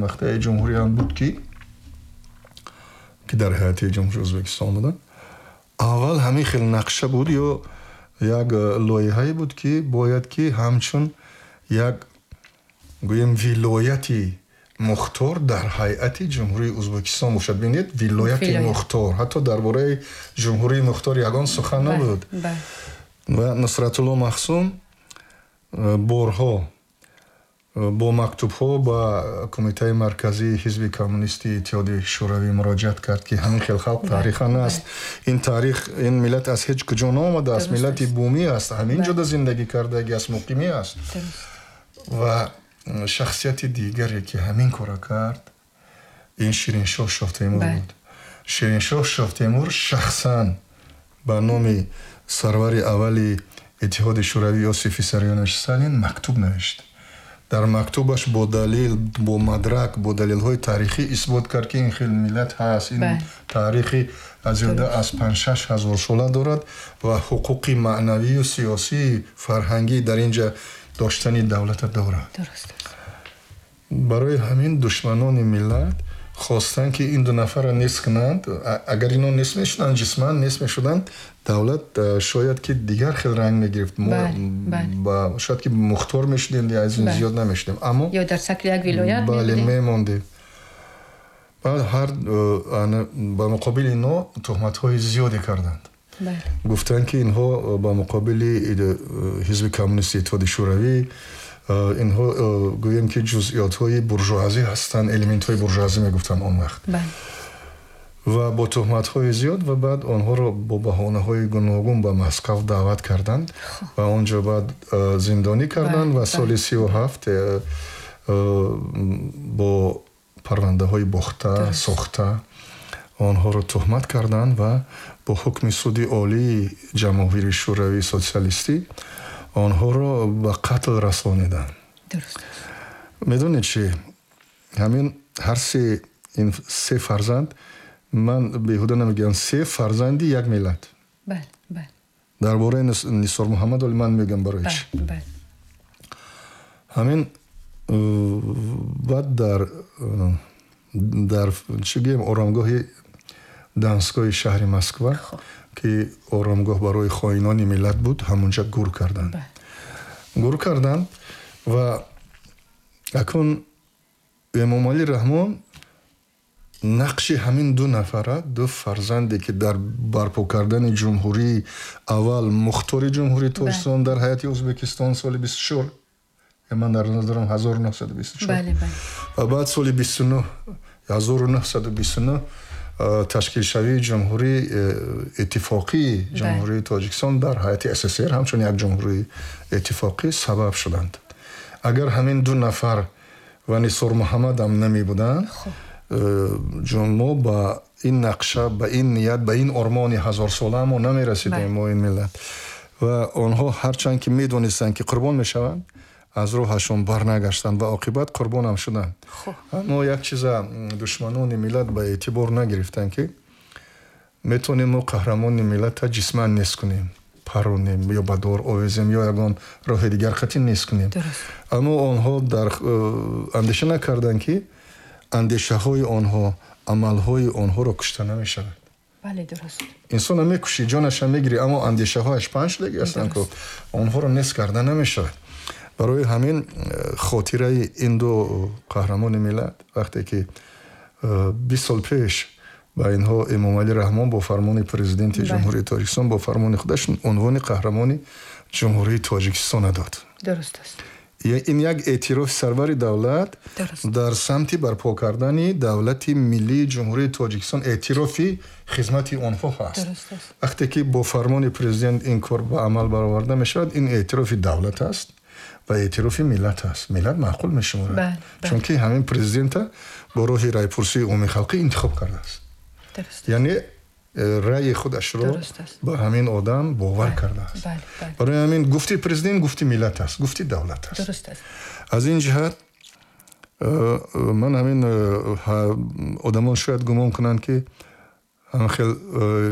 вақтаи ҷумҳуриям буд, ки дар ҳайати Ҷумҳурии Ӯзбекистон буданд. Аввал ҳамин хел нақша буд ё як лоиҳае буд, ки бояд ки ҳамчун як, гӯем, вилояти мухтор дар ҳайати Ҷумҳурии Ӯзбекистон бошад. Бинед, вилояти мухтор, ҳатто дар бораи ҷумҳурии мухтор ягон сухан набуд. Ва Нусратулло Маҳсум борҳо бо мактубҳо ба Кумитаи Марказии Ҳизби Коммунистии Иттиҳоди Шӯравӣ муроҷиат кард, ки ҳамин хел халқ таърихан аст, ин таърих, ин миллат аз ҳеҷ куҷо наомадааст, миллати бумӣ аст, ҳамин ҷода зиндагӣ кардагӣ аст, муқимӣ аст. Ва шахсияти дигаре, ки ҳамин кора кард, ин Шириншоҳ Шоҳтемур буд. Шириншоҳ Шоҳтемур шахсан ба номи сарвари аввали Иттиҳоди Шӯравӣ Иосиф Виссарионович Сталин мактуб навишт. Дар мактубаш бо далел, бо мадрак, бо далелҳои таърихӣ исбот кард, ки ин хел миллат ҳаст, ин таърихи зиёда аз 5-6 ҳазор сола дорад ва ҳуқуқи маънавию сиёсии фарҳангӣ дар ин ҷа доштани давлата дорад. Барои ҳамин душманони миллат хостанд, ки ин ду нафарро нест кунанд. Агар ино нест мешуданд, ҷисман нест мешуданд, давлат шояд ки дигар хел ранг мегирифт, шояд ки мухтор мешудем, аз ин зиёд намешудем, аммо ё дар шакли як вилоят. Бале, мемондем. Баъд ҳар ба муқобили ино туҳматҳои зиёде карданд, гуфтанд, ки инҳо ба муқобили Ҳизби Коммунисти Иттиҳоди Шӯравӣ, инҳо, гӯем ки, ҷузъиётҳои буржуазӣ ҳастанд, элементҳои буржуазӣ мегуфтанд он вақт. Ва бо туҳматҳои зиёд ва баъд онҳоро бо баҳонаҳои гуногун ба Москав даъват карданд ва он ҷо баъд зиндонӣ карданд ва соли 37 бо парвандаҳои бохта сохта онҳоро туҳмат карданд ва бо ҳукми Суди Олии Ҷамоҳири Шӯравии Социалистӣ онҳоро ба қатл расониданд. Медонед чи, ҳамин ҳар се, ин се фарзанд, ман беҳуда намегӯям, се фарзанди як миллат. Дар бораи Нисор Муҳаммад оли ман мегӯям барои чи. Ҳамин баъд дар, чӣ гӯем, оромгоҳи Донскойи шаҳри Москва, ки оромгоҳ барои хоинони миллат буд, ҳамонҷа гур карданд, гур карданд. Ва акун Эмомалӣ Раҳмон нақши ҳамин ду нафара, ду фарзанде, ки дар барпо кардани ҷумҳурии аввал, мухтори Ҷумҳурии Тоҷикистон дар ҳайати Ӯзбекистон соли 24, ман дар назар дорам 1924, ва баъд соли 29, 1929 ташкилшавии ҷумҳурии иттифоқии Ҷумҳурии Тоҷикистон дар ҳайати СССР ҳамчун як ҷумҳурии иттифоқӣ сабаб шуданд. Агар ҳамин ду нафар ва Нисор Муҳаммадам намебуданд, мо ба ин нақша, ба ин ният, ба ин ормони ҳазорсола мо намерасидем, мо, ин миллат. Ва онҳо ҳарчанд ки медонистанд, ки қурбон мешаванд, аз роҳашон барнагаштанд ва оқибат қурбонам шуданд. Аммо як чиза душманони миллат ба эътибор нагирифтанд, ки метавонем мо қаҳрамони миллата ҷисман нест кунем, паронем ё ба дор овезем ё ягон роҳи дигар қатъи нест кунем, аммо онҳо дар андеша накарданд, ки андешаҳои онҳо, амалҳои онҳоро кушта намешавад. Бале, дуруст. Инсона мекушӣ, ҷонаша мегирӣ, аммо андешаҳояш паҳн шудагӣ ҳастанд, ку онҳоро нест карда намешавад. Барои ҳамин хотираи ин ду қаҳрамони миллат, вақте ки 20 сол пеш ба инҳо Эмомалӣ Раҳмон бо фармони Президенти Ҷумҳурии Тоҷикистон, бо фармони худаш унвони Қаҳрамони Ҷумҳурии Тоҷикистона дод. Дуруст аст. Ин як эътирофи сарвари давлат дар самти барпо кардани давлати миллии Ҷумҳурии Тоҷикистон, эътирофи хизмати онҳо ҳаст. Вақте ки бо фармони президент ин кор ба амал бароварда мешавад, ин эътирофи давлат аст ва эътирофи миллат аст. Миллат маъқул мешуморад, чунки ҳамин президента бо роҳи райпурсии умумихалқӣ интихоб кардааст, яъне раъи худашро ба ҳамин одам бовар кардааст. Барои ҳамин гуфти президент гуфти миллат аст, гуфти давлат аст. Аз ин ҷиҳат ман ҳамин одамон шояд гумон кунанд, ки хел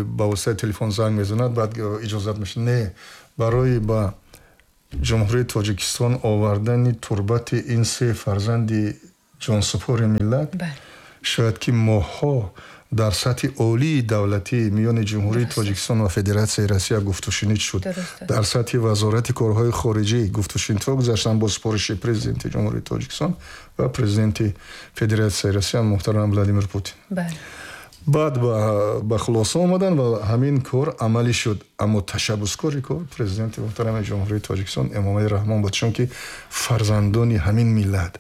ба воситаи телефон занг мезанад, баъд иҷозат мешавад. Не, барои ба Ҷумҳурии Тоҷикистон овардани турбати ин се фарзанди Ҷонсупори миллат, шояд ки моҳҳо дар сатҳи олии давлатӣ миёни Ҷумҳурии Тоҷикистон ва Федератсияи Россия гуфтушунид шуд. Дар сатҳи Вазорати корҳои хориҷӣ гуфтушунидҳо гузаштанд бо супориши Президенти Ҷумҳурии Тоҷикистон ва Президенти Федератсияи Россия муҳтарам Владимир Путин. Баъд ба хулоса омаданд ва ҳамин кор амалӣ шуд. Аммо ташаббускори кор Президенти муҳтарами Ҷумҳурии Тоҷикистон Эмомалӣ Раҳмон буд, чунки фарзандони ҳамин миллат,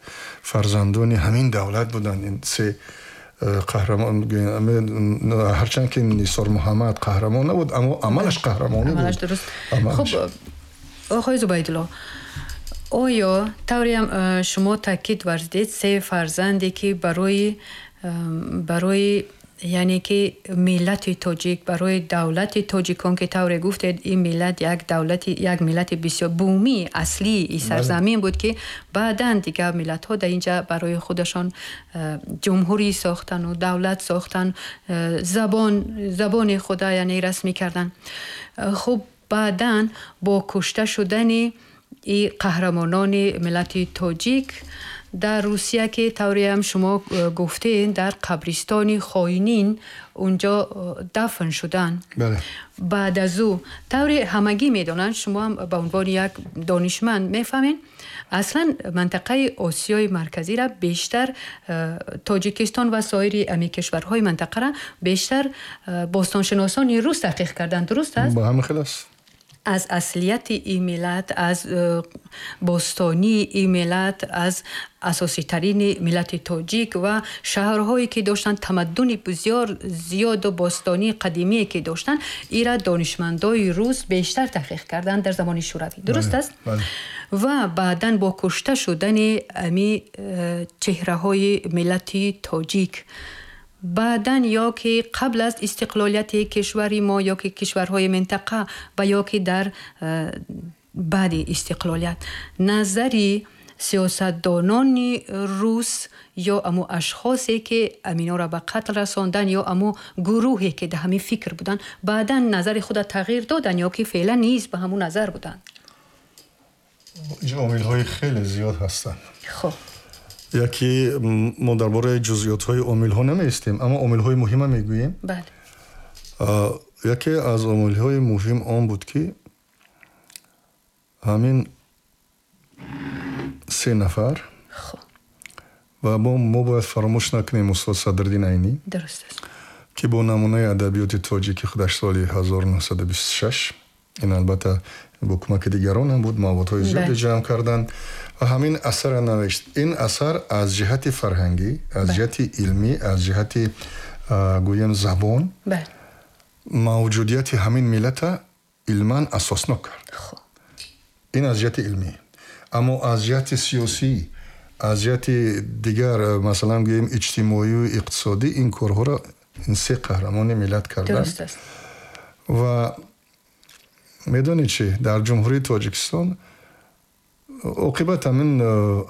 фарзандони ҳамин давлат буданд ин се қаҳрамон. Ҳарчанд ки Нисор Муҳаммад қаҳрамон набуд, аммо амалаш қаҳрамонӣ буд. Хуб, оқои Зубайдулло, оё тавреам шумо таъкид варзидед, се фарзанде ки барои яъне ки миллати тоҷик, барои давлати тоҷикон, ки тавре гуфтед, ин миллат як давлати, як миллати бисёр бумии аслии сарзамин буд, ки баъдан дигар миллатҳо дар инҷа барои худашон ҷумҳурӣ сохтану давлат сохтан, забони худа яъне расмӣ кардан. Хуб, баъдан бо кушта шудани и қаҳрамонони миллати тоҷик дар Русия, ки тавреам шумо гуфтед, дар қабристони хоинин унҷо дафн шуданд, баъд аз ӯ, тавре ҳамагӣ медонанд, шумо ҳам ба унвони як донишманд мефаҳмед, аслан мантақаи Осиёи Марказиро бештар Тоҷикистон ва соири ами кишварҳои мантақаро бештар бостоншиносони рус таҳқиқ карданд, дуруст аст? Ба ҳамин хел аст. Аз аслияти ин миллат, аз бостонии ин миллат, аз асоситарини миллати тоҷик ва шаҳрҳое ки доштанд, тамаддуни бисёр зиёду бостонии қадимие ки доштанд, ира донишмандои рус бештар таҳқиқ карданд дар замони Шӯравӣ, дуруст аст? Ва баъдан бо кушта шудани ами чеҳраҳои миллати тоҷик, баъдан ё ки қабл аз истиқлолияти кишвари мо, ё ки кишварҳои минтақа, ва ё ки дар баъди истиқлолият, назари сиёсатдонони рус ё аму ашхосе ки аминора ба қатл расондан, ё аму гурӯҳе ки дар ҳамин фикр буданд, баъдан назари худа тағйир доданд ё ки феълан низ ба ҳамун назар буданд? Инҷо омилҳои хеле зиёд ҳастанд. Хуб, яке мо дар бораи ҷузъиётҳои омилҳо намеистем, аммо омилҳои муҳима мегӯем. Яке аз омилҳои муҳим он буд, ки ҳамин се нафар ва мо бояд фаромӯш накунем устод Садриддин Айнӣ, дуруст аст, ки бо намунаи адабиёти тоҷики худаш соли 1926, ин албатта бо кӯмаки дигарон ҳам буд, маводҳои зиёде ҷамъ карданд ва ҳамин асарро навишт. Ин асар аз ҷиҳати фарҳангӣ, аз ҷиҳати илмӣ, аз ҷиҳати гӯем забон, мавҷудияти ҳамин миллата илман асоснок кард. Ин аз ҷиҳати илмӣ. Аммо аз ҷиҳати сиёсӣ, аз ҷиҳати дигар, масалан гӯем иҷтимоию иқтисодӣ, ин корҳоро ин се қаҳрамони миллат карданд. Ва медонед чӣ, дар Ҷумҳурии Тоҷикистон оқибат ҳамин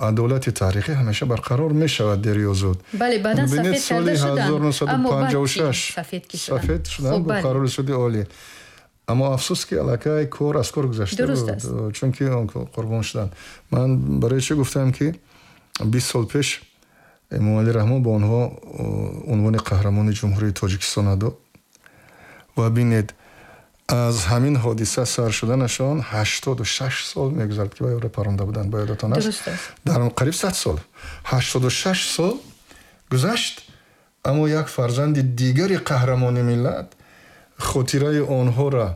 адолати таърихӣ ҳамеша барқарор мешавад дер ё зуд. Бале, баъдан сафед карда шуданд. Аммо баъд 1956 сафед шуданд бо қарори суди олӣ. Аммо афсӯс, ки аллакай кор аз кор гузашта буд, чунки он қурбон шуданд. Ман барои чӣ гуфтам, ки 20 сол пеш Эмомалӣ Раҳмон ба онҳо унвони қаҳрамони Ҷумҳурии Тоҷикистона дод. Ва бинед, аз ҳамин ҳодиса сар шуданашон 86 сол мегузарад, ки ба ёра паронда буданд, ба ёдатон аст, дар қариб 100 сол, 86 сол гузашт, аммо як фарзанди дигари қаҳрамони миллат хотираи онҳоро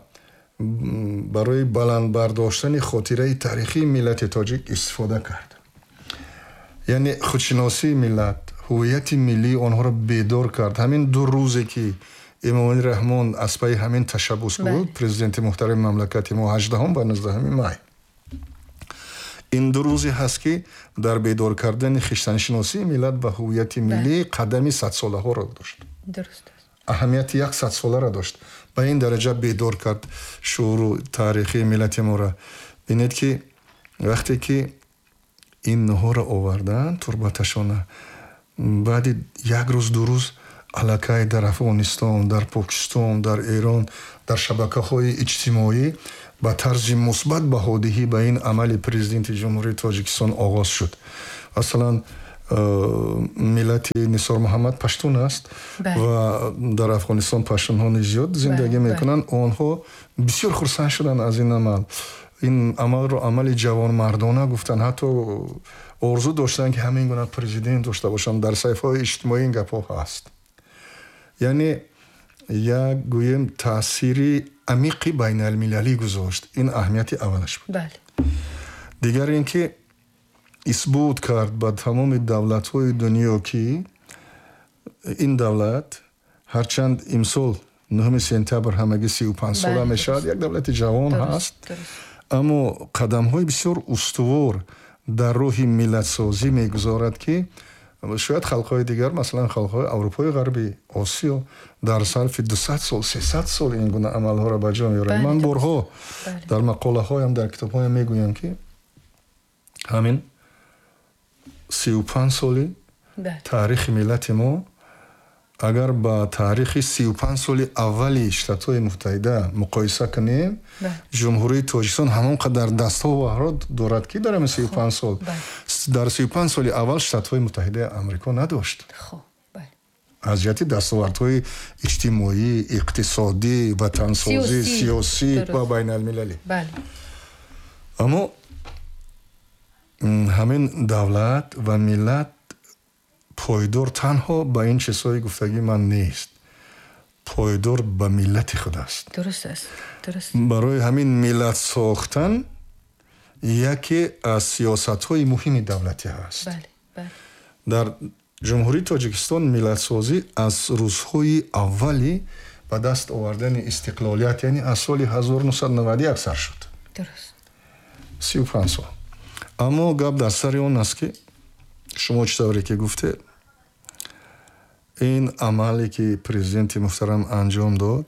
барои баланд бардоштани хотираи таърихии миллати тоҷик истифода кард. Яъне худшиносии миллат, ҳуввияти миллии онҳоро бедор кард. Ҳамин 2 рӯзе ки Эмомалӣ Раҳмон аз пайи ҳамин ташаббус буд, президенти муҳтарами мамлакати мо, 18 ва 19 май, ин 2 рӯзе ҳаст, ки дар бедор кардани хештаншиносии миллат ва ҳуввияти миллӣ қадами садсолаҳоро дошт, аҳамияти як садсоларо дошт. Ба ин дараҷа бедор кард шууру таърихии миллати моро. Бинед, ки вақте ки инҳоро оварданд, турбаташона, баъди як рӯз, 2 рӯз аллакай дар Афғонистон, дар Покистон, дар Эрон, дар шабакаҳои иҷтимоӣ ба тарзи мусбат баҳодиҳӣ ба ин амали президенти Ҷумҳурии Тоҷикистон оғоз шуд. Масалан, Миллати Нисор Муҳаммад паштун аст ва дар Афғонистон паштунҳо низ зиёд зиндагӣ мекунанд. Онҳо бисёр хурсанд шуданд аз ин амал. Ин амалро амали ҷавонмардона гуфтанд, ҳатто орзу доштанд, ки ҳамин гуна президент дошта бошанд. Дар саҳифаҳои иҷтимоӣ ин гапҳо ҳаст. Яъне як, гӯем, таъсири амиқи байналмилалӣ гузошт. Ин аҳамияти аввалаш буд. Дигар ин ки исбот кард ба тамоми давлатҳои дунё, ки ин давлат, ҳарчанд имсол 9 сентябр ҳамагӣ 35 сола мешавад, як давлати ҷавон ҳаст, аммо қадамҳои бисёр устувор дар роҳи миллатсозӣ мегузорад, ки шояд халқҳои дигар, масалан халқҳои Аврупои Ғарбӣ, Осиё, дар сарфи 200 сол, 300 сол ин гуна амалҳоро ба ҷо меоранд. Ман борҳо дар мақолаҳоям, дар китобҳоям мегӯям, ки ҳамин 35 соли таърихи миллати мо агар ба таърихи 35 соли аввали Штатҳои Муттаҳида муқоиса кунем, Ҷумҳурии Тоҷикистон ҳамон қадар дастовардҳо дорад, ки дар ҳамин 35 сол, дар 35 соли аввал Штатҳои Муттаҳидаи Амрико надошт аз ҷиҳати дастовардҳои иҷтимоӣ, иқтисодӣ, ватансозӣ, сиёсӣ ва байналмилалӣ. Аммо ҳамин давлат ва миллат пойдор танҳо ба ин чизҳои гуфтагӣ ман нест, пойдор ба миллати худ аст. Дуруст аст, дуруст. Барои ҳамин миллат сохтан яке аз сиёсатҳои муҳими давлатӣ ҳаст. Дар Ҷумҳурии Тоҷикистон миллатсозӣ аз рӯзҳои аввали ба даст овардани истиқлолият, яъне аз соли 1991 сар шуд. 35 сол. Аммо гап дар сари он аст, ки шумо чӣ тавре ки гуфтед, ин амале ки президенти муҳтарам анҷом дод,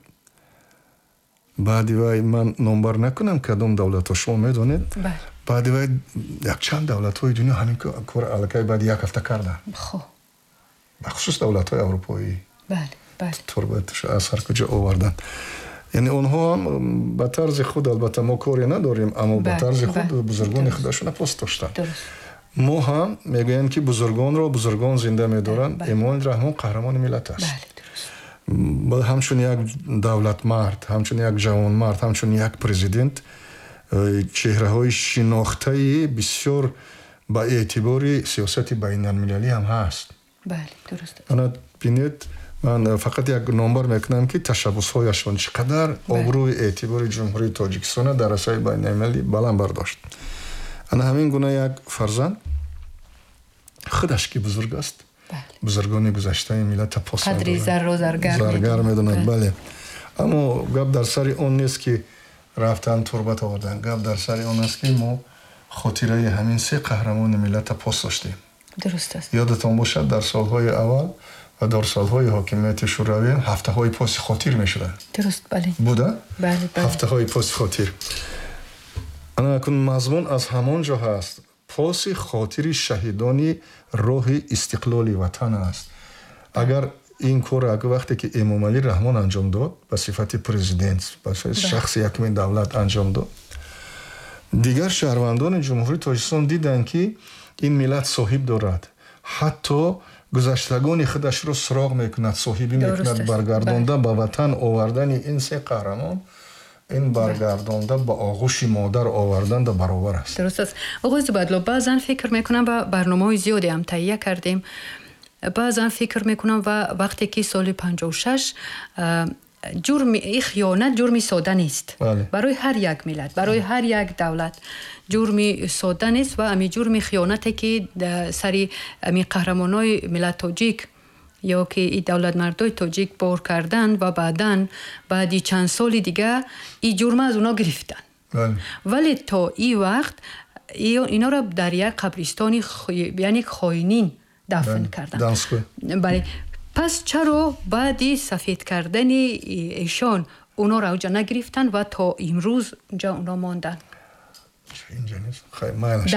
баъди вай, ман номбар накунам кадом давлатҳо, шумо медонед, баъди вай якчанд давлатҳои дунё ҳамин кор аллакай баъди як ҳафта карданд, бахусус давлатҳои аврупоӣ, турбаташо аз ҳар куҷо оварданд. Яъне онҳо ҳам ба тарзи худ, албатта мо коре надорем, аммо ба тарзи худ бузургони худашона пос доштанд. Мо ҳам мегӯем, ки бузургонро бузургон зинда медоранд. Эмомалӣ Раҳмон қаҳрамони миллат аст. Ҳамчун як давлатмард, ҳамчун як ҷавонмард, ҳамчун як президент, чеҳраҳои шинохтаи бисёр ба эътибори сиёсати байналмилалӣ ҳам ҳаст. Ана бинед, ман фақат як номбар мекунам, ки ташаббусҳояшон чӣ қадар обрӯи эътибори Ҷумҳурии Тоҷикистона дар арсаи байналмилалӣ баланд бардошт. Ана ҳамин гуна як фарзанд худаш, ки бузург аст, бузургони гузаштаи миллата пос қадри зарро заргар медонад. Бале, аммо гап дар сари он нест, ки рафтан турбат овардан. Гап дар сари он аст, ки мо хотираи ҳамин се қаҳрамони миллата пос доштем. Дуруст аст. Ёдатон бошад, дар солҳои аввал ва дар солҳои ҳокимияти шӯравӣ ҳафтаҳои поси хотир мешуданд. Дуруст, бале. Буда Бале. Ҳафтаҳои поси хотир. Ана акун мазмун аз ҳамон ҷо ҳаст: поси хотири шаҳидони роҳи истиқлоли ватан аст. Агар ин корро вақте ки Эмомалӣ Раҳмон анҷом дод, ба сифати президент, ба сифати шахси якуми давлат анҷом дод, дигар шаҳрвандони Ҷумҳурии Тоҷикистон диданд, ки ин миллат соҳиб дорад, ҳатто гузаштагони худашро суроғ мекунад, соҳибӣ мекунад. Баргардонда ба ватан овардани ин се қаҳрамон, ин баргардонда ба оғӯши модар оварданда баробар аст. Дуруст аст, оғои Зубайдулло. Баъзан фикр мекунам, ва барномаҳои зиёде ҳам таҳия кардем, баъзан фикр мекунам, ва вақте ки соли 56 ҷурми хиёнат ҷурми сода нест барои ҳар як миллат, барои ҳар як давлат ҷурми сода нест. Ва ами ҷурми хиёнате, ки сари ами қаҳрамонои миллат тоҷик ё ки и давлатмардои тоҷик бор карданд, ва баъдан баъди чанд соли дига и ҷурма аз оно гирифтанд, вале то и вақт инора дар як қабристони, яъне хоинин, дафн карданд. Бале, пас чаро баъди сафед кардани эшон онора уҷа нагирифтанд ва то имрӯз унҷа оно монданд?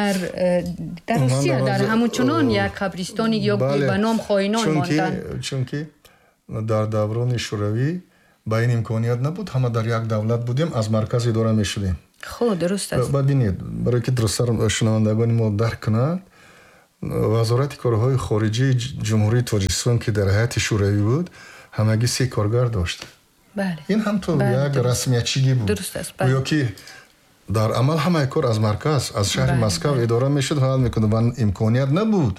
Дар Русия, дар ҳамончунон як қабристони ё ба ном хоинон монданд. Чунки дар даврони шӯравӣ ба ин имконият набуд, ҳама дар як давлат будем, аз марказ идора мешудем. Хуб, дуруст аст. Баъд бинед, барое ки дурусттар шунавандагони мо дарк кунанд. Вазорати корҳои хориҷии Ҷумҳурии Тоҷикистон, ки дар ҳайати Шӯравӣ буд, ҳамагӣ се коргар дошт. Ин ҳам то як расмиятчигӣ буд. Гӯё ки дар амал ҳамаи кор аз марказ, аз шаҳри Москав идора мешуд, ҳал мекунад ва имконият набуд.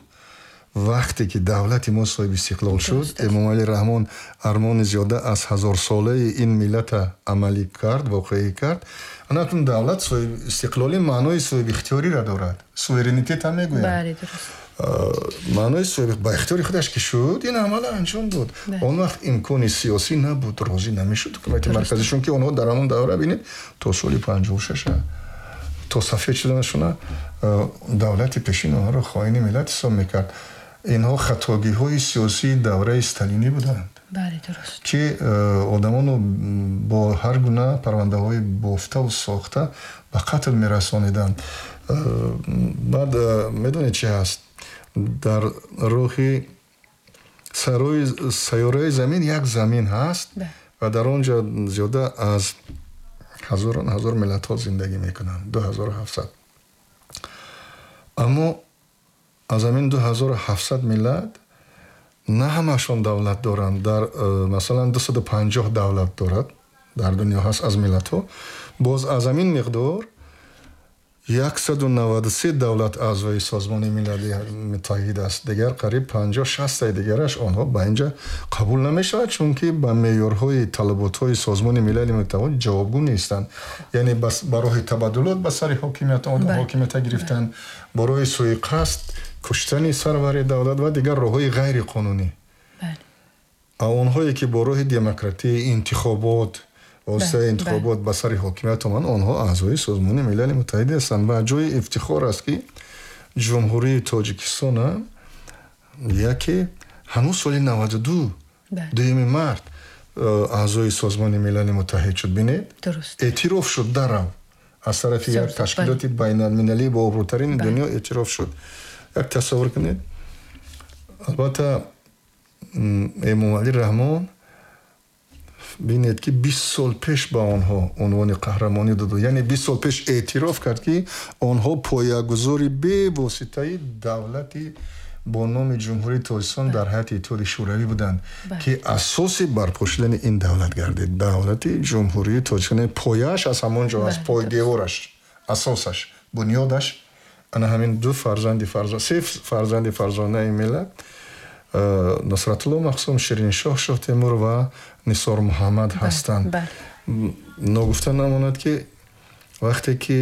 Вақте ки давлати мо соҳиби истиқлол шуд, Эмомалӣ Раҳмон армони зиёда аз ҳазорсолаи ин миллата амалӣ кард, воқеӣ кард. Анакун давлат соҳиби истиқлолӣ маънои соҳиби ихтиёриро дорад. Суверенитет ҳам мегӯянд. Маънои ба ихтиёри худаш ки шуд, ин амала анҷом дод. Он вақт имкони сиёсӣ набуд, розӣ намешуд ҳукумати марказӣ, чунки онҳо дар ҳамон давра, бинед, то соли 56 то сафед шуданашона давлати пешин онҳоро хоини миллат ҳисоб мекард. Инҳо хатогиҳои сиёсии давраи сталинӣ буданд, ки одамонро бо ҳар гуна парвандаҳои бофтаву сохта ба қатл мерасониданд. Баъд медонед, чи ҳаст? Дар рӯҳи сайёраи Замин як замин ҳаст ва дар он ҷо зиёда аз ҳазорон ҳазор миллатҳо зиндагӣ мекунанд, 2700. Аммо аз ҳамин 2700 миллат на ҳамашон давлат доранд. Дар масалан 250 давлат дорад дар дунё ҳаст аз миллатҳо. Боз аз ҳамин миқдор 193 давлат аъзои Созмони Милали Муттаҳид аст. Дигар қариб 50-60 дигараш онҳо ба инҷа қабул намешавад, чунки ба меъёрҳои талаботҳои Созмони Милали Муттаҳид ҷавобгӯ нестанд. Яъне ба роҳи табаддулот ба сари ҳокимият ҳокимията гирифтанд, ба роҳи суиқасд, куштани сарвари давлат ва дигар роҳҳои ғайриқонунӣ. Онҳое ки бо роҳи демократӣ, интихобот, воситаи интихобот ба сари ҳокимият оманд, онҳо аъзои Созмони Милали Муттаҳид ҳастанд. Ва ҷои ифтихор аст, ки Ҷумҳурии Тоҷикистон яке ҳанӯз соли 92, 2 март аъзои Созмони Милали Муттаҳид шуд. Бинед, эътироф шуд дарав аз тарафи як ташкилоти байналмилалии бообрӯтарини дунё эътироф шуд. Як тасаввур кунед. Албатта, Эмомалӣ Раҳмон, бинед, ки 20 сол пеш ба онҳо унвони қаҳрамонӣ дод, яъне 20 сол пеш эътироф кард, ки онҳо поягузори бевоситаи давлати бо номи Ҷумҳурии Тоҷикистон дар ҳайати Иттиҳоди Шӯравӣ буданд, ки асоси барпо шудани ин давлат гардид. Давлати Ҷумҳурии Тоҷикистон пояаш аз ҳамон ҷо аст, пойдевораш, асосаш, бунёдаш ана ҳамин ду фарзанди, се фарзанди фарзонаи миллат, Нусратулло Махсум, Шириншоҳ Шоҳтемур ва Нисор Муҳаммад ҳастанд. Ногуфта намонад, ки вақте ки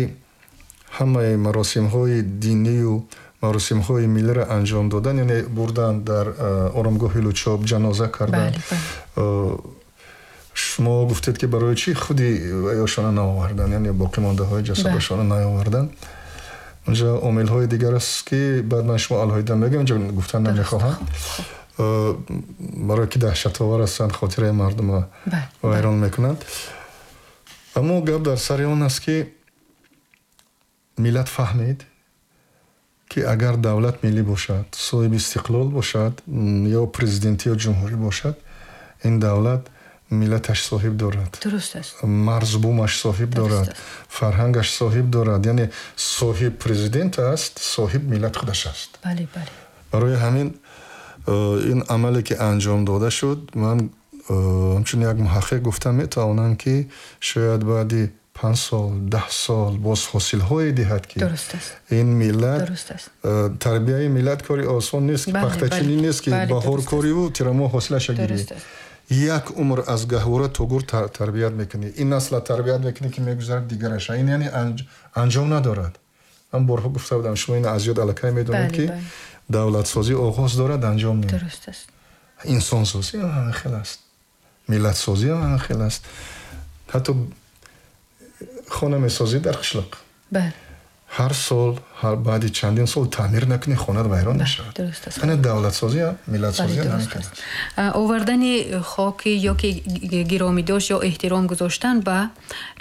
ҳамаи маросимҳои динию маросимҳои миллиро анҷом додан, яъне бурдан дар оромгоҳи Лучоб, ҷаноза кардан, шумо гуфтед, ки барои чӣ худи ёшона наовардан, яъне боқимондаҳои ҷасадашона наовардан. Унҷа омилҳои дигар аст, ки баъд ман шумо алоҳида мегӯям, инҷо гуфтан намехоҳам, барое ки даҳшатовар ҳастанд, хотираи мардума вайрон мекунанд. Аммо гап дар сари он аст, ки миллат фаҳмид, ки агар давлат миллӣ бошад, соҳиби истиқлол бошад, ё президентӣ ё ҷумҳурӣ бошад, ин давлат миллаташ соҳиб дорад, марзбумаш соҳиб дорад, фарҳангаш соҳиб дорад, яъне соҳиб президент аст, соҳиб миллат худаш аст. Барои ҳамин ин амале ки анҷом дода шуд, ман ҳамчун як муҳаққиқ гуфта метавонам, ки шояд баъди 5 сол, 10 сол боз ҳосилҳое диҳад, ки ин миллат, тарбияи миллат кори осон нест, ки пахтачинӣ нест, ки баҳор кориву тирамоҳ ҳосилаша гирӣ. Як умр аз гаҳвора то гур тарбият мекунӣ, ин насла тарбият мекунӣ, ки мегузарад, дигараша. Ин яъне анҷом надорад. Ман борҳо гуфта будам, шумо ин аз ёд аллакай медонед, ки давлатсозӣ оғоз дорад, анҷом не. Инсонсозӣ ҳам ҳамин хел аст, миллатсозӣ ҳам ҳамин хел аст. Ҳатто хона месозӣ дар қишлоқ, ҳар сол, баъди чандин сол таъмир накунӣ, хонат вайрон мешавад. Ана давлатсозӣ, миллатсозӣ ҳам ҳамин хел аст. Овардани хоки ё ки гиромӣ дошт ё эҳтиром гузоштан ба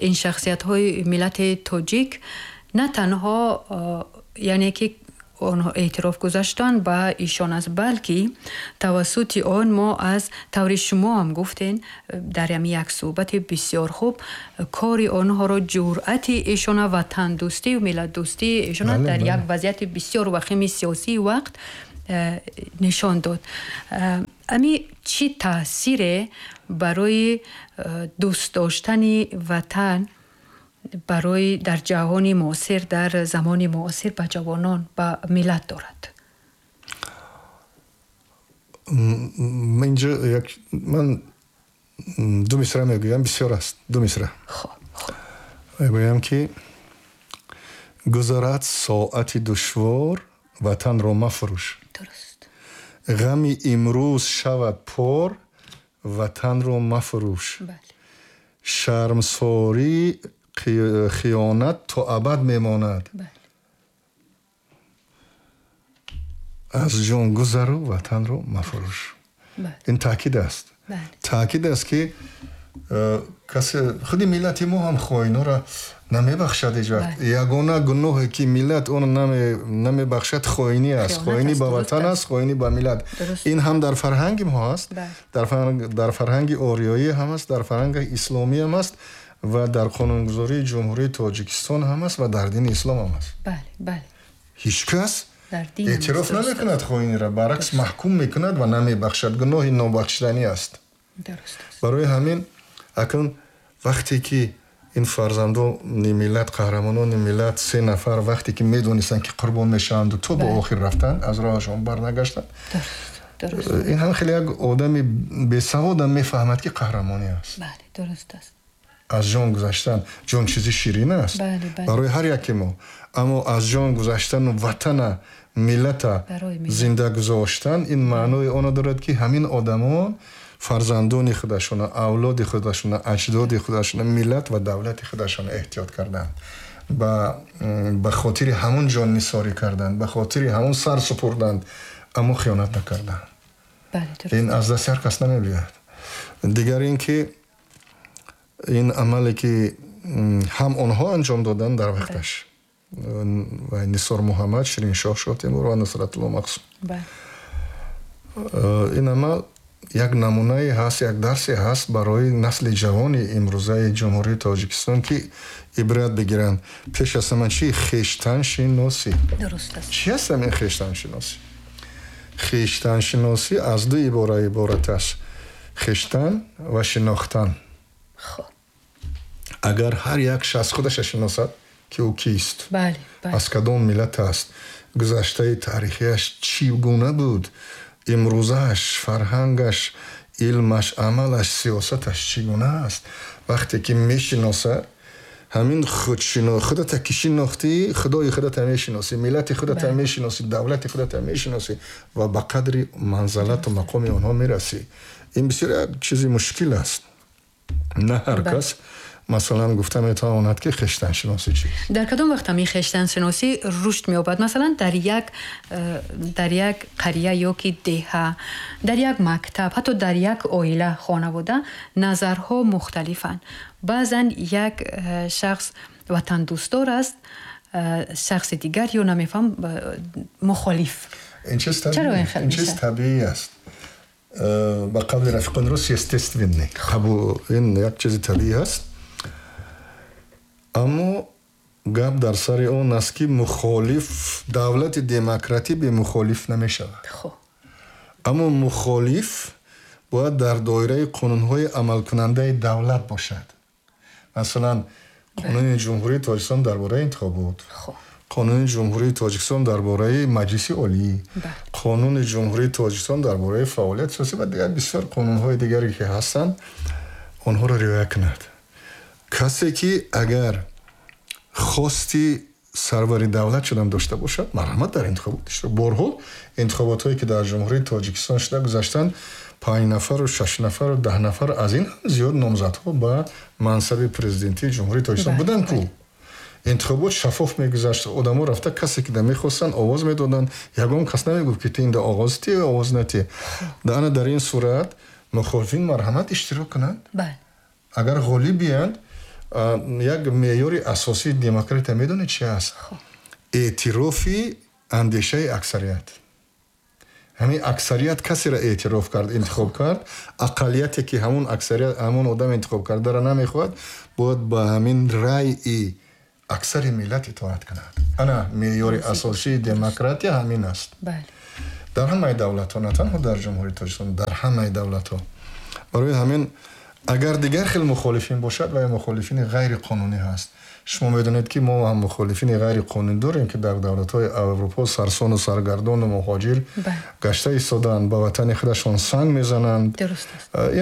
ин шахсиятҳои миллати тоҷик на танҳо яъне ки онҳо эътироф гузаштан ба ишон аст, балки тавассути он мо аз таври шумо ҳам гуфтен дар ҳамин як суҳбати бисёр хуб кори онҳоро, ҷуръати ишона, ватандӯстию миллатдӯстии ишона дар як вазъияти бисёр вахими сиёсии вақт нишон дод. Ами чӣ таъсире барои дӯст доштани ватан барои дар ҷаҳони муосир, дар замони муосир ба ҷавонон, ба миллат дорад? Инҷо ман ду мисра мегӯям, бисёр аст, ду мисра. Мегӯям ки гузарад соати душвор, ватанро мафурӯш. Ғами имрӯз шавад пор, ватанро мафурӯш. Шармсорӣ хиёнат то абад мемонад. Аз ҷон гузару ватанро мафурӯш. Ин таъкид аст. Таъкид аст ки касе худи миллати мо ҳам хоинҳоро намебахшад ҳеҷ вақт. Ягона гуноҳе ки миллат он намебахшад хоинӣ аст. Хоинӣ ба ватан аст, хоинӣ ба миллат. Ин ҳам дар фарҳанги мо ҳаст, дар фарҳанги ориёӣ ҳам аст, дар фарҳанги исломӣ ҳам аст ва дар қонунгузории Ҷумҳурии Тоҷикистон ҳам аст ва дар дини ислом ҳам аст. Ҳеҷ кас эътироф намекунад хоиниро, баръакс маҳкум мекунад ва намебахшад. Гуноҳи нобахшиданӣ аст. Барои ҳамин акнун вақте ки ин фарзандони миллат, қаҳрамонони миллат се нафар вақте ки медонистанд ки қурбон мешаванду то ба охир рафтанд, аз роҳашон барнагаштанд. Ин ҳам хеле як одами бесаводам мефаҳмад ки қаҳрамонӣ аст. Аз ҷон гузаштан, ҷон чизи ширин аст барои ҳар яке мо, аммо аз ҷон гузаштану ватана, миллата зинда гузоштан ин маънои онро дорад ки ҳамин одамон фарзандони худашона, авлоди худашона, аҷдоди худашона, миллат ва давлати худашона эҳтиёт карданд, ба хотири ҳамон ҷон нисорӣ карданд, ба хотири ҳамон сар супурданд, аммо хиёнат накарданд. Ин аз дасти ҳар кас намебиёяд. Дигар ин ки ин амале ки ҳам онҳо анҷом доданд дар вақташ, Нисор Муҳаммад, Шириншоҳ Шоҳтемур ва Нусратулло Мақсум, ин амал як намунае ҳаст, як дарсе ҳаст барои насли ҷавони имрӯзаи Ҷумҳурии Тоҷикистон ки ибрат бигиранд. Пеш аз ҳама чи? Хештаншиносӣ. Чи аст ҳамин хештаншиносӣ? Хештаншиносӣ аз ду ибора иборат аст: хештан ва шинохтан. Агар ҳар як шахс худаша шиносад ки ӯ кист, аз кадом миллат аст, гузаштаи таърихиаш чӣ гуна буд, имрӯзааш, фарҳангаш, илмаш, амалаш, сиёсаташ чӣ гуна аст, вақте ки мешиносад, ҳамин худата ки шинохтӣ, худои худата мешиносӣ, миллати худата мешиносӣ, давлати худата мешиносӣ ва ба қадри манзалату мақоми онҳо мерасӣ. Ин бисёр як чизи мушкил аст. На ҳар кас масалан гуфта метавонад ки хештаншиносӣ чист. Дар кадом вақт ҳамин хештаншиносӣ рушд меёбад? Масалан дар як қария ё ки деҳа, дар як мактаб, ҳатто дар як оила, хонавода назарҳо мухталифанд. Баъзан як шахс ватандӯстдор аст, шахси дигар ё намефаҳм мухолиф. Ин чиз табиӣ аст. Ба қавли рафиқони рус естественный. Ин як чизи табиӣ аст. Аммо гап дар сари он аст ки мухолиф, давлати демократӣ бемухолиф намешавад. Аммо мухолиф бояд дар доираи қонунҳои амалкунандаи давлат бошад. Масалан, қонуни Ҷумҳурии Тоҷикистон дар бораи интихобот, қонуни Ҷумҳурии Тоҷикистон дар бораи Маҷлиси Олӣ, қонуни Ҷумҳурии Тоҷикистон дар бораи фаъолияти сиёсӣ ва дигар бисёр қонунҳои дигаре ки ҳастанд, онҳоро риоя кунад. Касе ки агар хости сарвари давлат шудан дошта бошад, марҳамат дар интихобот иштирок. Борҳо интихоботҳое ки дар Ҷумҳурии Тоҷикистон шуда гузаштанд, 5 нафару 6 нафару 10 нафар аз ин ҳам зиёд номзадҳо ба мансаби президентии Ҷумҳурии Тоҷикистон буданд ку. Интихобот шаффоф мегузашт, одамо рафта касе ки мехостанд овоз медоданд, ягон кас намегуфт ки ту инда оғоз ти ё овоз натӣ. Ана дар ин сурат мухолифин марҳамат иштирок кунанд. Агар ғолиб биянд, як меъёри асосии демократия медонед чи аст? Эътирофи Андешаи аксарият. Ҳамин аксарият касеро эътироф кард, интихоб кард, ақаллияте ки ҳамун аксарият, ҳамун одам интихоб кардара намехоҳад, бояд ба ҳамин раъи аксари миллат итоат кунад. Ана меъёри асосии демократия ҳамин аст. Дар ҳамаи давлатҳо, на танҳо дар Ҷумҳурии Тоҷикистон, дар ҳамаи давлатҳо. Барои ҳамин агар дигар хел мухолифин бошад, ва мухолифини ғайриқонунӣ ҳаст. Шумо медонед, ки мо ҳам мухолифини ғайриқонунӣ дорем, ки дар давлатҳои Аврупо сарсону саргардону муҳоҷир гашта истодаанд, ба ватани худашон санг мезананд.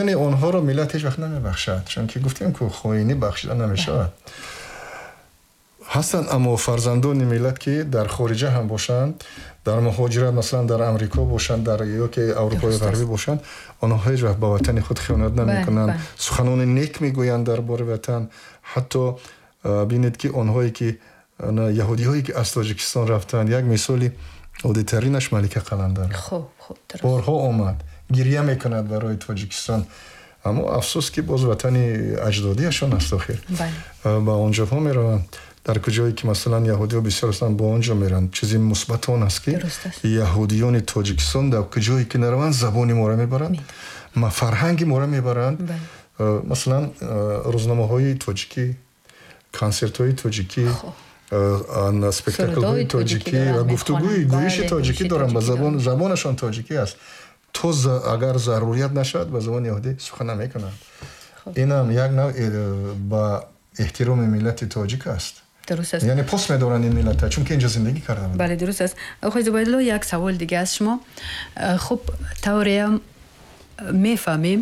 Яъне онҳоро миллат ҳеҷ вақт намебахшад, чунки гуфтем, ку хоинӣ бахшида намешавад. Ҳастанд аммо фарзандони миллат, ки дар хориҷа ҳам бошанд, дар муҳоҷират, масалан, дар Амрико бошанд, дар ёки Аврупои Ғарбӣ бошанд, онҳо ҳеҷ вақт ба ватани худ хиёнат намекунанд, суханони нек мегӯянд дар бораи ватан. Ҳатто бинед, ки онҳое ки, яҳудиҳое ки аз Тоҷикистон рафтанд, як мисоли оддитаринаш Малика Қаландар борҳо омад, гирья мекунад барои Тоҷикистон, аммо афсӯс, ки боз ватани аҷдодиашон аст. Охир ба онҷоҳо мераванд, дар куҷое ки, масалан, яҳудиҳо бисёр ҳастанд, ба он ҷо мераванд. Чизи мусбат он аст, ки яҳудиёни Тоҷикистон дар куҷое ки нараванд, забони моро мебаранд, фарҳанги моро мебаранд. Масалан, рӯзномаҳои тоҷикӣ, консертҳои тоҷикӣ, спектаклҳои тоҷикӣ ва гуфтугӯи гӯиши тоҷикӣ доранд, ба забонашон тоҷикӣ аст. То агар зарурият нашавад, ба забони яҳудӣ сухан намекунанд. Инам як навъ ба эҳтироми миллати тоҷик аст. Дуруст аст. Яъне пос медоранд ин миллата, чунки инҷо зиндагӣ карда буданд. Бале, дуруст аст. Оқои Зубайдулло, як савол дига аз шумо. Хуб, тавреам мефаҳмем,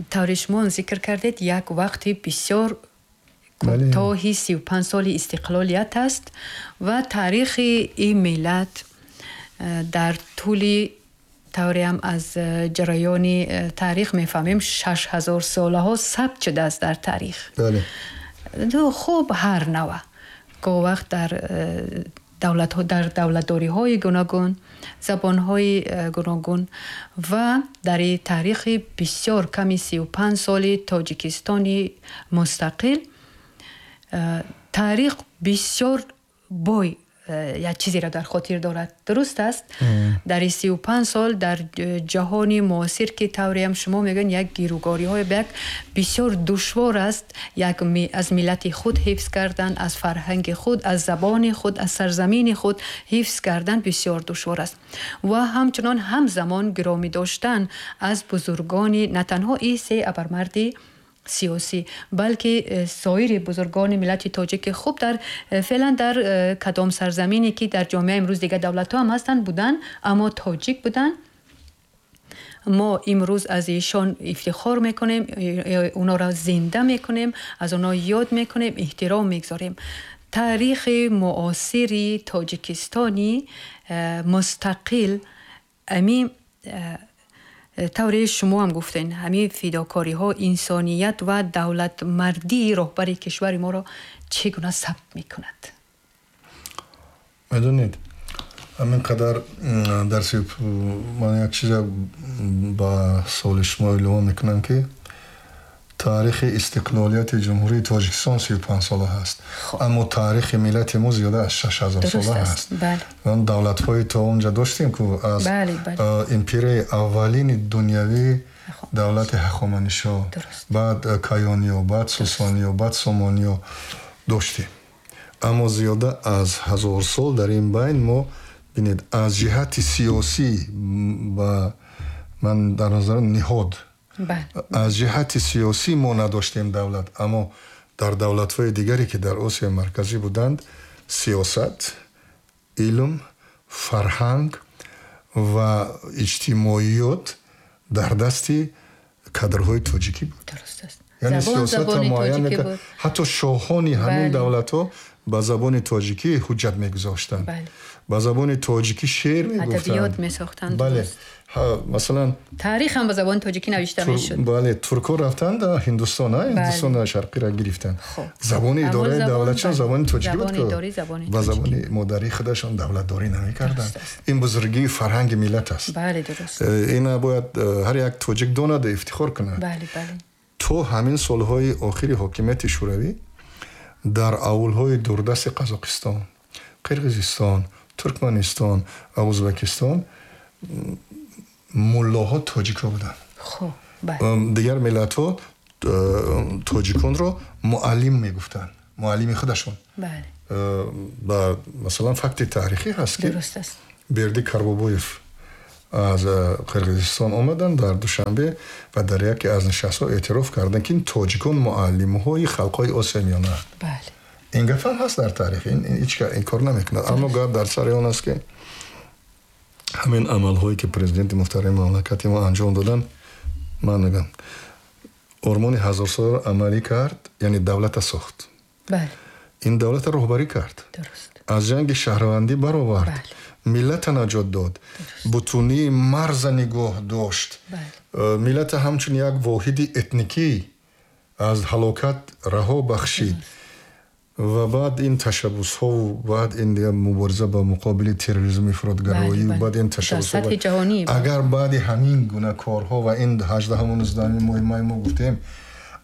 тавре шумо зикр кардед, як вақти бисёр кӯтоҳи 35 соли истиқлолият аст ва таърихи ин миллат дар тӯли, тавреам аз ҷараёни таърих мефаҳмем, 6000 солаҳо сабт шудааст дар таърих. Хуб, ҳар нава гоҳ вақт дар давлатҳо, дар давлатдориҳои гуногун, забонҳои гуногун ва дар таърихи бисёр ками 35 соли Тоҷикистони мустақил таърих бисёр бой як чизеро дар хотир дорад. Дуруст аст, дар 35 сол дар ҷаҳони муосир, ки тавреам шумо мегӯянд, як гиругориҳои як бисёр душвор аст як аз миллати худ ҳифз кардан, аз фарҳанги худ, аз забони худ, аз сарзамини худ ҳифз кардан бисёр душвор аст ва ҳамчунон ҳамзамон гиромӣ доштан аз бузургони, на танҳо и се абармарди сиёсӣ, балки соири бузургони миллати тоҷик, ки хуб дар феълан дар кадом сарзамине ки дар ҷомеа имрӯз дигар давлатҳо ҳам ҳастанд, буданд, аммо тоҷик буданд. Мо имрӯз аз ишон ифтихор мекунем, онҳоро зинда мекунем, аз онҳо ёд мекунем, эҳтиром мегузорем. Таърихи муосири Тоҷикистони мустақил ами тавре шумо ҳам гуфтен, ҳамин фидокориҳо, инсоният ва давлатмардии роҳбари кишвари моро чӣ гуна сабт мекунад? Медонед, ҳамин қадар дарси ман як чиза ба саволи шумо илова мекунам, ки таърихи истиқлолияти Ҷумҳурии Тоҷикистон 35 сола ҳаст, аммо таърихи миллати мо зиёда аз 6000 сола ҳаст. Давлатҳои то онҷа доштем, ку аз империяи аввалини дунявӣ, давлати Ҳахоманишо, баъд Каёниё, баъд Сосониё, баъд Сомониё доштем, аммо зиёда аз 1000 сол дар ин байн мо, бинед, аз ҷиҳати сиёсӣ ба ман дар назар ниҳод, аз ҷиҳати сиёсӣ мо надоштем давлат, аммо дар давлатҳои дигаре, ки дар Осиёи Марказӣ буданд, сиёсат, илм, фарҳанг ва иҷтимоиёт дар дасти кадрҳои тоҷикӣ буд. Яъне сиёсатро муайян мекард. Ҳатто шоҳони ҳамин давлатҳо ба забони тоҷикӣ ҳуҷҷат мегузоштанд, ба забони тоҷикӣ шеър мегуфтанд. Бале, масалан, таърих ҳам ба забони тоҷикӣ навишта мешуд. Бале, туркҳо рафтанд Ҳиндустон, Ҳиндустони Шарқиро гирифтанд, забони идораи давлатшон забони тоҷикӣ буд. Ба забони модарии худашон давлатдорӣ намекарданд. Ин бузургии фарҳанги миллат аст. Ина бояд ҳар як тоҷик донаду ифтихор кунад. То ҳамин солҳои охири ҳокимияти Шӯравӣ дар авулҳои дурдасти Қазоқистон, Қирғизистон, Туркманистон ва Ӯзбекистон муллоҳо тоҷикҳо буданд. Хуб, дигар миллатҳо тоҷиконро муаллим мегуфтанд, муаллими худашон. Бале. Ба масалан факти таърихӣ ҳаст ки дуруст аст. Берди Карбобоев аз Қирғизистон омаданд дар Душанбе ва дар яке аз нишастҳо эътироф карданд ки тоҷикон муаллимҳои халқҳои Осиёи Миёнаанд. Бале. Ин гап ҳам ҳаст дар таърих, ин ҳеҷ инкор намекунад. Аммо гап дар сари он аст ки ҳамин амалҳое ки президенти муҳтарами мамлакати мо анҷом доданд, ман мегӯям ормони ҳазорсоларо амалӣ кард, яъне давлата сохт. Бале. Ин давлата роҳбарӣ кард. Дуруст. Аз ҷанги шаҳрвандӣ баровард. Бале. Миллата наҷот дод. Бутунии марза нигоҳ дошт. Бале. Миллата ҳамчун як воҳиди этникӣ аз ҳалокат раҳо бахшид. Ва баъд ин ташаббусҳову баъд ин мубориза ба муқобили терроризм, ифротгароӣ, баъд ин ташаббусҳо. Дар сатҳи ҷаҳонӣ. Агар баъди ҳамин гуна корҳо ва ин 18-ҳаму 19-ҳами моҳи май мо гуфтем,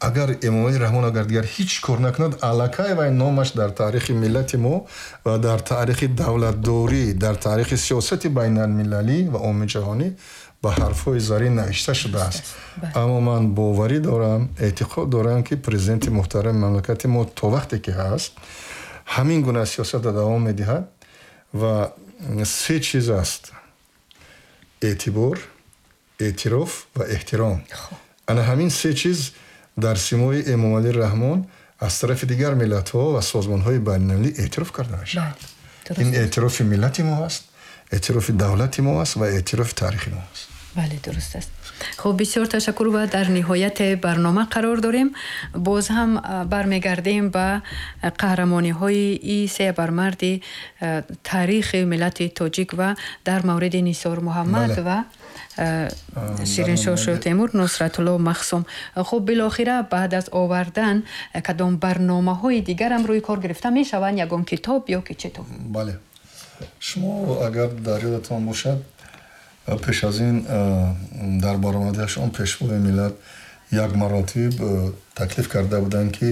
агар Эмомалӣ Раҳмон агар дигар ҳеҷ кор накунад, аллакай вай номаш дар таърихи миллати мо ва дар таърихи давлатдорӣ, дар таърихи сиёсати байналмилалӣ ва умумиҷаҳонӣ ба ҳарфҳои зарин навишта шудааст. Аммо ман боварӣ дорам, эътиқод дорам ки президенти муҳтарами мамлакати мо то вақте ки ҳаст ҳамин гуна сиёсатро давом медиҳад ва се чиз аст: эътибор, эътироф ва эҳтиром. Ана ҳамин се чиз дар симои Эмомалӣ Раҳмон аз тарафи дигар миллатҳо ва созмонҳои байналмилалӣ эътироф карда мешавад. Ин эътирофи миллати мо аст, эътирофи давлати мо аст ва эътирофи таърихи мо аст. Бале, дуруст аст. Хуб, бисёр ташаккур ва дар ниҳоят барнома қарор дорем. Боз ҳам бармегардем ба қаҳрамониҳои ин се бармарди таърихи миллати тоҷик ва дар мавриди Нисор Муҳаммад ва Шириншоҳ Шоҳтемур, Нусратулло Махсум. Хуб, билохира баъд аз овардан кадом барномаҳои дигарам рӯи кор гирифта мешаванд, ягон китоб ё ки чӣ то? Бале. Шумо агар дар ёдатон бошад, пеш аз ин дар баромадашон пешвои миллат як маротиб таклиф карда буданд ки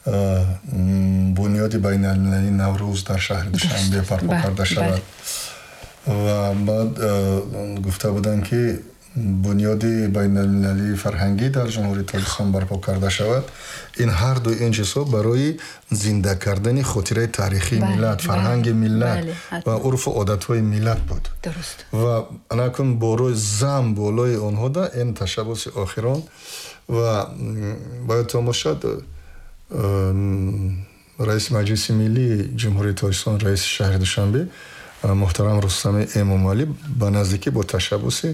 бунёди байналмилалии Наврӯз дар шаҳри Душанбе барпо карда шавад ва баъд гуфта буданд ки бунёди байналмилалии фарҳангӣ дар Ҷумҳурии Тоҷикистон барпо карда шавад. Ин ҳар ду ин чизҳо барои зинда кардани хотираи таърихии миллат, фарҳанги миллат ва урфу одатҳои миллат буд. Ва анакун борои зам болои онҳо да ин ташаббуси охирон ва бояд бошад раиси Маҷлиси Миллии Ҷумҳурии Тоҷикистон, раиси шаҳри Душанбе муҳтарам Рустами Эмомалӣ ба наздикӣ бо ташаббуси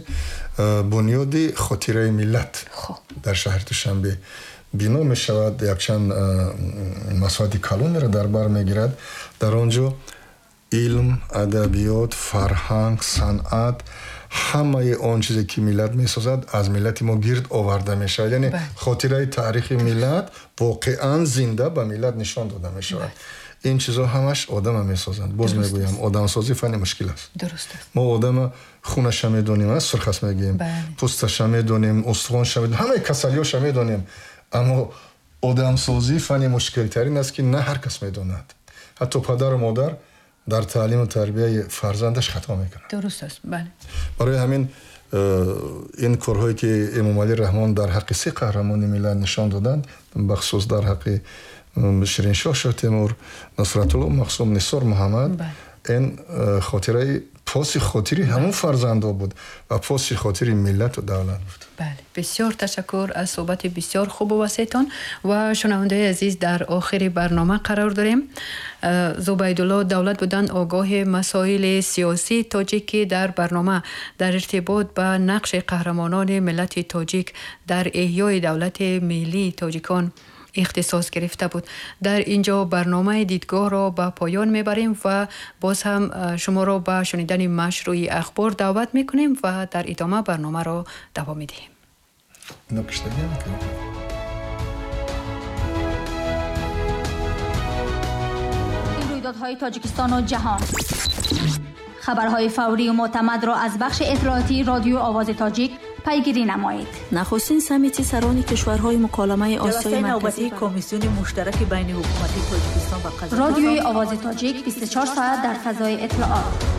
бунёди хотираи миллат дар шаҳри Душанбе бино мешавад, якчанд масоҳати калонеро дар бар мегирад. Дар он ҷо илм, адабиёт, фарҳанг, санъат, ҳамаи он чизе ки миллат месозад аз миллати мо гирд оварда мешавад. Яъне хотираи таърихи миллат воқеан зинда ба миллат нишон дода мешавад. Ин чизҳо ҳамаш одама месозанд. Боз мегӯям, одамсозӣ фанни мушкил аст. Дуруст аст. Мо одама хунаша медонем, сурхас мегӯем, пӯсташа медонем, устухонша медонем, ҳамаи касалиҳоша медонем. Аммо одамсозӣ фанни мушкилтарин аст ки на ҳар кас медонад. Ҳатто падару модар дар таълиму тарбияи фарзандаш хато мекунад. Дуруст аст, бале. Барои ҳамин ин корҳое ки Эмомалӣ Раҳмон дар ҳаққи се қаҳрамони миллат нишон доданд, бахусус дар ҳаққи Шириншоҳ Шоҳтемур, Нусратулло Махсум, Нисор Муҳаммад, ин хотираи поси хотири ҳамон фарзандҳо буд ва поси хотири миллату давлат буд. Бале, бисёр ташаккур аз суҳбати бисёр хубу васеътон ва шунавандаи азиз, дар охири барнома қарор дорем. Зубайдулло Давлат буданд огоҳи масоили сиёсии тоҷик, ки дар барнома дар иртибот ба нақши қаҳрамонони миллати тоҷик дар эҳёи давлати миллии тоҷикон ихтисос гирифта буд. Дар инҷо барномаи дидгоҳро ба поён мебарем ва боз ҳам шуморо ба шунидани машрӯи ахбор даъват мекунем ва дар идома барномаро давом медиҳем. Рӯйдодҳои Тоҷикистону ҷаҳон, хабарҳои фаврию мӯътамадро аз бахши иттилоотии Радиои Овози Тоҷик Пайгирӣ намоед. Нахустин саммити сарони кишварҳои Муколамаи Осиёи Ҷаласаи Марказӣ навбатии комиссиони муштараки байни ҳукумати Тоҷикистон ва Қазоқистон. Радиои Овози Тоҷик 24 соат дар фазои иттилоот.